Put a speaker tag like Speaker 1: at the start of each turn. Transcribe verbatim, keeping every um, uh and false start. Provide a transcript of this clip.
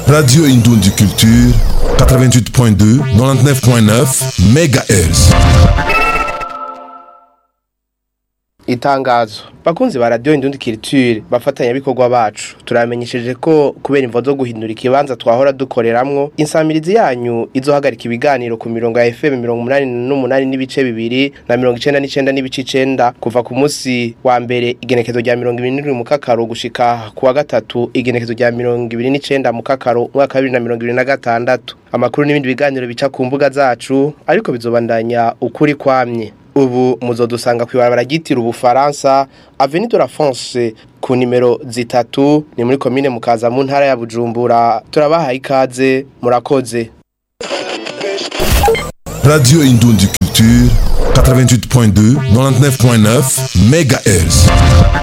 Speaker 1: Radio Indundi Culture, quatre-vingt-huit point deux, quatre-vingt-dix-neuf point neuf M H Z.
Speaker 2: Itangazo: bakunzi ba Radio Indundi Culture, bafatanyabikorwa bacu, turamenyesheje ko kubera imvo zo guhindura ikibanza twahora dukoreramwo, insamirizi yanyu izohagarika ibiganiro ku mirongo ya F M mirongo umunani n'umunani n'ibice bibiri na mirongo icenda n'icenda n'ibice icenda kuva ku munsi wa mbere igenekezo rya mirongo ibiri n'indwi Mukakaro gushika ku wa gatatu igenekezo rya mirongo ibiri n'icenda Mukakaro umwaka wa bibiri na mirongo ibiri na gatandatu. Amakuru n'ibindi biganiro bica ku mbuga zacu, ariko bizobandanya ukuri kwamye. Ubu muzodusanga kw'ibarabara ryitiriwe Ubufaransa, Avenue de la France, ku nimero zitatu, ni muri komine Mukaza, mu ntara ya Bujumbura. Turabahaye ikaze, murakoze.
Speaker 1: Radio Indundi Culture, quatre-vingt-huit point deux, quatre-vingt-dix-neuf point neuf M H Z.